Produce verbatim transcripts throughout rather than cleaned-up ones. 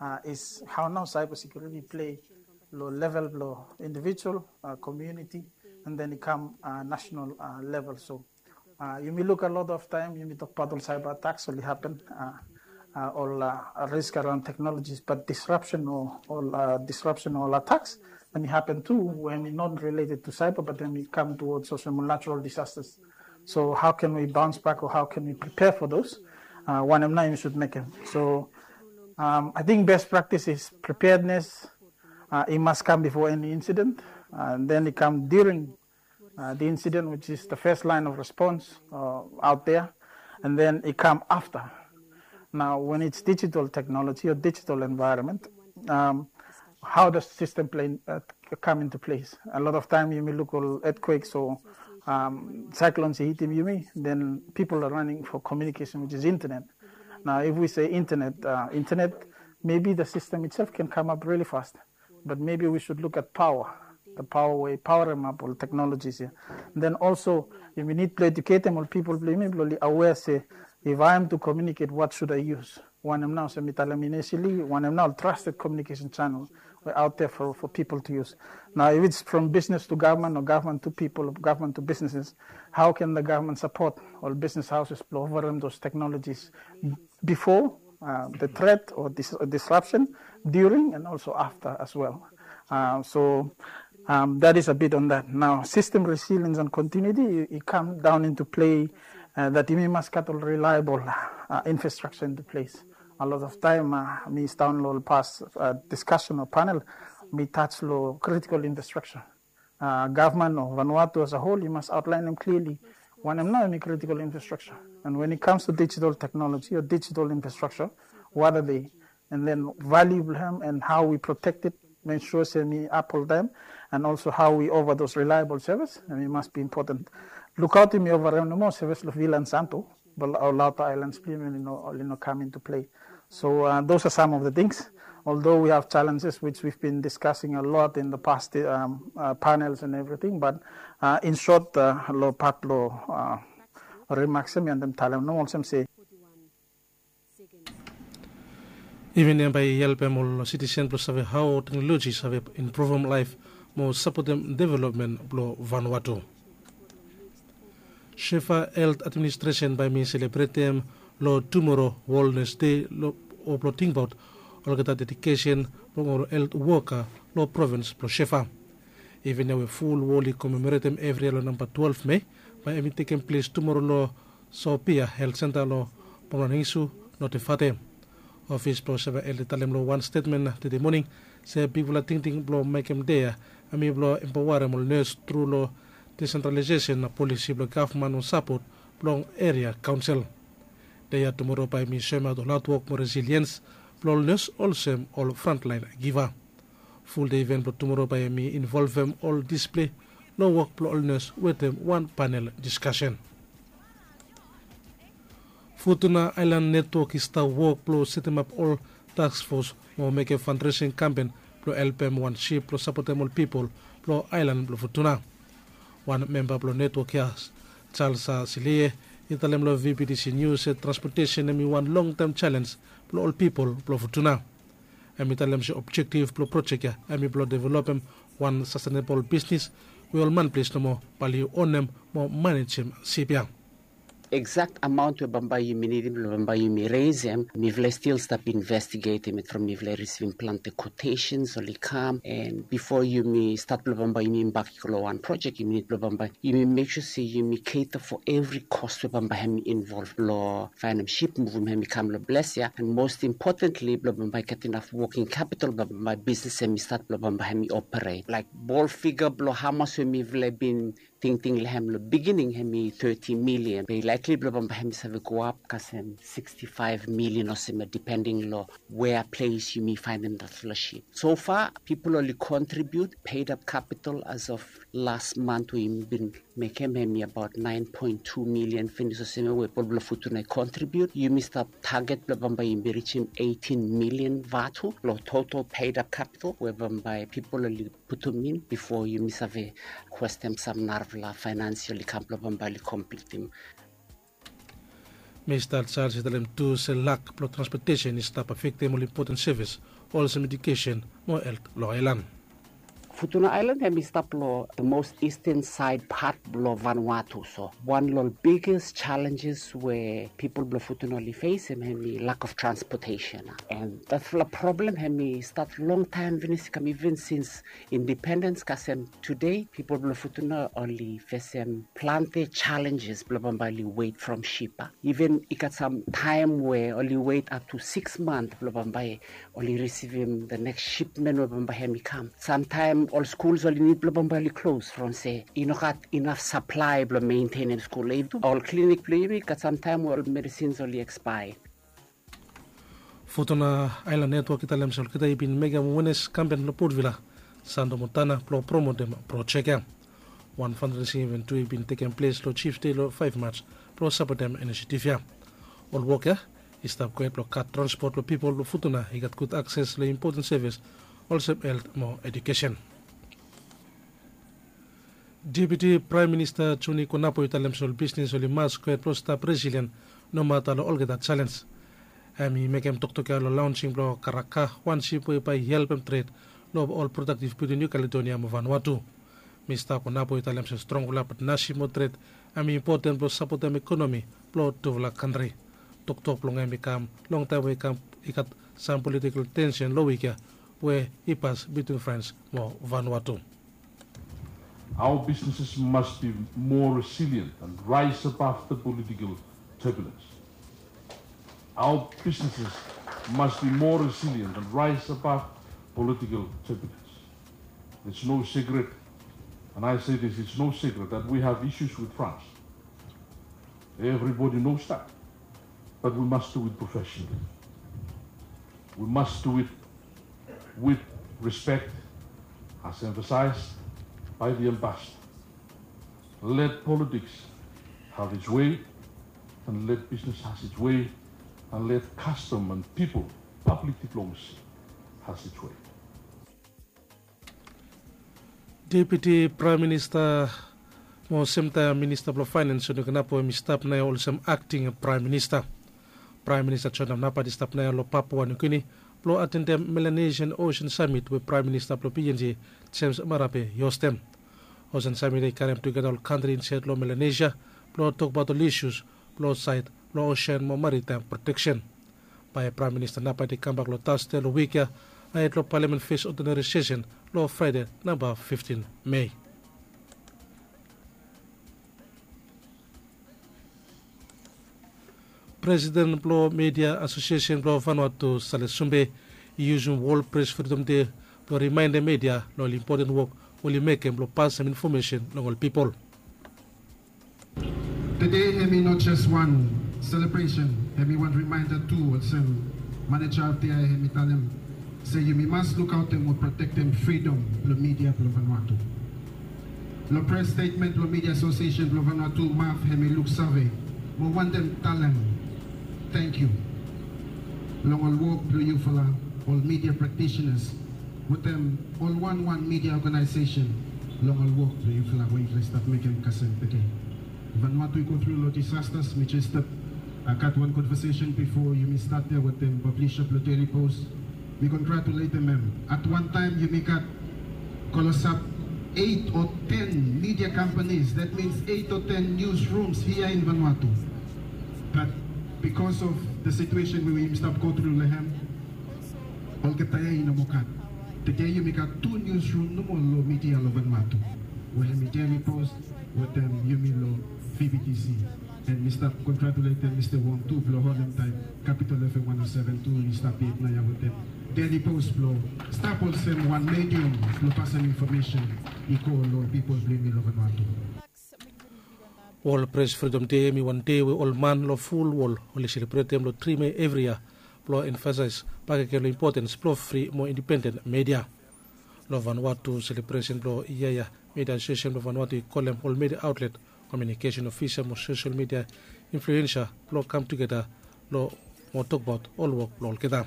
uh, is how now cyber security play lo level lo individual, uh, community, and then it come uh, national uh, level. So uh, yumi look a lot of time yumi talk about all cyber attacks only happen uh, uh, all uh, risk around technologies, but disruption or all uh, disruption or attacks and it happen too when it not related to cyber, but then it come towards also natural disasters. So how can we bounce back or how can we prepare for those? Uh, one of them should make them. So um, I think best practice is preparedness. Uh, it must come before any incident, uh, and then it come during uh, the incident, which is the first line of response uh, out there, and then it come after. Now, when it's digital technology or digital environment, um, how does system play uh, come into place? A lot of time you may look at earthquakes or um, cyclones hitting you, then people are running for communication, which is internet. Now, if we say internet, uh, internet, maybe the system itself can come up really fast, but maybe we should look at power, the power way, power them up, all technologies here. And then also, we need to educate them, all people, people aware, say, if I am to communicate, what should I use? One of now, so mi tell them initially, one of now trusted communication channel were out there for, for people to use. Now, if it's from business to government or government to people, or government to businesses, how can the government support all business houses to offer them those technologies before uh, the threat or dis- disruption, during, and also after as well? Uh, so um, that is a bit on that. Now, system resilience and continuity, it, it come down into play uh, that you must get a reliable uh, infrastructure into place. A lot of time, uh, mi stand lo past uh, discussion or panel, mi touch lo critical infrastructure. Uh, government or Vanuatu as a whole, you must outline them clearly. One of them now, critical infrastructure. And when it comes to digital technology or digital infrastructure, what are they? And then value them and how we protect it, make sure say mi uphold them, and also how we offer those reliable service, and it must be important. Look out in mi over them no more service lo Vila and Santo, but our outer islands, you know, you know, come into play. So uh, those are some of the things. Although we have challenges which we've been discussing a lot in the past um, uh, panels and everything, but uh, in short, uh, lo part lo uh, remarks mi and them tell them no more say Even hemia bae i helpem ol sitisen blong save hao teknoloji save improvem laef mo sapotem developmen blong Vanuatu. Shefa Health Administration bae mi selebretem long tumoro Wellness Day o blong tingbaot olgeta dedikesen blong ol health woka long provins blong Shefa. Even hemia we ful wol i komemoretem evri yia long namba twelve Mei, bae hemi tekem ples tumoro long Sopia Health Centre long Pomerangisu, Notefate. Ofis blong Shefa Health i talem long wan stetmen tede moning se bigfala tingting blong mekem dei ya hemi blong empaoarem ol nes tru long desentralaesesen polisi blong gavman o sapot blong eria kaonsel. Dei ya tumoro bae mi soemaot ol hatwok mo resiliens blong ol nes olsem ol frantlaen giva. Fuldei iven blong tumoro bae hemi involvem ol displei long wok blong ol nes wetem wan panel diskasen. Futuna Aelan Netwok i stap wok blong setemap ol taskfos mo mekem fandresing kampen blong helpem wan sip blong sapotem ol pipol blong aelan blong Futuna. Wan memba blong netwok ya, Charles Silie, i talem long VBTC News se transpotesen hemi wan longtaem jalens blong ol pipol blong Futuna. Hemi talem se objektif blong projek ya hemi blong developem wan sastenebol bisnis we ol manples nomo bae oli onem mo manejem sip ya. Exact amount we bambae yumi nidim blong bambae yumi resem, mifala i stil stap investigetem it from mifala i risivim plante quotations oli kam, and bifo yumi stat blong bambae yumi embark i go long wan projek, yumi nid blong bambae yumi mek sua se yumi cater for evri cost we bambae hemi involve long faenem sip, muvum hemi kam long ples ya, and most importantly blong bambae gat inaf working capital blong bambae bisnis hemi stat, blong bambae hemi operate. Laek bol figa blong hamas we mifala i bin tingting long hem long bigining hemi thirty million, be i likely blong bambae hemi save go ap kasem sixty-five million olsem ya, depending long wea ples yumi faenem datfala sip. So far pipol oli contribute, paid up capital as of last month we yumi bin mekem hemi abaot nine point two million finis olsem ya we pipol blong Futuna i contribute. Yumi stap target blong bambae yumi rijim eighteen million vatu long total paid up capital we bambae pipol oli putum in bifo yumi save kwestem sam narafala faenans oli kam blong bambae oli komplitim. Mista Charles i talem tu se lak blong transpotesen i stap afektem ol impoten sevis olsem edukesen mo helt long aelan. Futuna Aelan hem i stap long the most eastern side part blong Vanuatu, so wan long biggest challenges we pipol blong Futuna oli fesim hem i lack of transportation. And datfala problem hem i stat long taem finis i kam even since independens kasem today pipol blong Futuna oli fesim plante challenges blong bambae oli wet from ship. Even i gat sam taem we oli wet up to six month blong bambae oli risivim the next shipment we bambae hem i kam. Samtaem ol skuls oli nid blong bambae oli klos from se i no gat inaf saplae blong mentenem skul. Ol klinik blong yumi gat samtaem we ol medisins oli ekspae. Futuna Aelan Netwok i talem se olgeta i bin mekem wenes kampen long Port Vila, Sando Montana blong promotem projek ya. Wan fandraising iven tu i bin tekem ples long Chiefs Day long faef Maj blong sapotem inisiatif ya. Ol wok ya i stap gret blong gat transpot blong pipol blong Futuna i gat gud akses long impoten sevis olsem helt mo edukesen. Deputi Praem Minista Joni Konapo i talem se ol bisnis oli mas gret blong stap resilien nomata long olgeta jalenj. Hem i mekem toktok ya long laonsing blong Karaka, wan sip we bae i helpem tred long ol prodaktif bitwin Niu Kaledonia mo Vanuatu. Mista Konapo i talem se strongfala patnasip mo tred hem i impoten blong sapotem ekonomi blong tufala kantri. Toktok blong hem i kam longtaem we i kam i gat sam politikol tensen long wik ya we i pas bitwin Frans mo Vanuatu. Our businesses must be more resilient and rise above the political turbulence. Our businesses must be more resilient and rise above political turbulence. It's no secret, and I say this, it's no secret that we have issues with France. Everybody knows that. But we must do it professionally. We must do it with respect, as emphasized by the ambassador. Let politics have its way, and let business has its way, and let custom and people, public diplomacy has its way. Deputi Praem Minista mo semtaem Minista blong Faenens Joni Konapo hem i stap naoia olsem akting Praem Minista. Praem Minista Joni Napat i stap naoia long Papua Niu Gini blong atendem Melanesian Ocean Summit we Praem Minista blong PNG James Marape i hostem. Ocean Summit ya i karem tugeta ol kantri insaed long Melanesia blong tokbaot ol isus blong saed blong osen mo maritaem proteksen. Bae Praem Minista Napat i kambak long Tasde long wik ya ahed long Palamen fes odinari sesen long Fraede namba fiftin Mei. Presiden blong Media Asosiesen blong Vanuatu Sale Sumbe i yusum Wol Pres Fridom Dei blong rimaendem media long ol impoten wok we oli mekem blong pasem infomesen long ol pipol. Tede hem i no jes wan selebresen, hem i wan rimaenda tu olsem maneja of the year hem i talem se yumi mas lukaotem o protektem fridom blong media blong Vanuatu. Long pres stetmen blong Media Asosiesen blong Vanuatu, MAF, hem i luksave mo wantem talem tangkiu long ol wok blong yufala, ol media praktisenas wetem ol wanwan media oganaesesen long ol wok blong yufala we yufala i stap mekem kasem tede. Vanuatu i go tru long disastas. Mi jes stap gat wan konvasesen bifo yumi stat ya wetem pablisa blong Daily Post. Mi kongratuletem hem. At wan taem yumi gat klosap eit o ten media kampanis, that means eit o ten niusrums hia in Vanuatu. Bat bikos of the situation we yumi stap go tru long hem, olgeta ya i no moa gat. Tede yumi gat tu niusrum nomo long media long Vanuatu, we hem i Daily Post wetem yumi long VBTC. And mi stap kongratuletem Mista Wong tu blong holem taem Capital FM one oh seven tu i stap yet naoia wetem Daily Post blong stap olsem wan medium blong pasem infomesen i go long pipol blong yumi long Vanuatu. Wol Pres Fridom Dei hem i wan dei we ol man long ful wol oli selebretem long tri Mei evri yia blong emfasaes bakegen long impotens blong fri mo indipenden media. Long Vanuatu selebresen blong yia ya, Media Asosiesen blong Vanuatu i kolem ol media aotlet, komiunikesen ofisa mo sosel media influensa blong kam tugeta long mo tokbaot ol wok blong olgeta.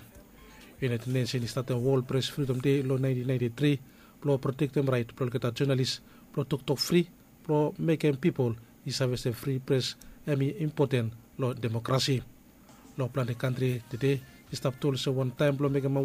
United Nation i statem Wol Pres Fridom Dei long naentin naenti tri blong protektem raet blong olgeta jonalis blong toktok fri blong mekem pipol i save se fri pres hem i impoten long demokrasi. Long plante kantri tede i stap tu olsem wantaem blong mekem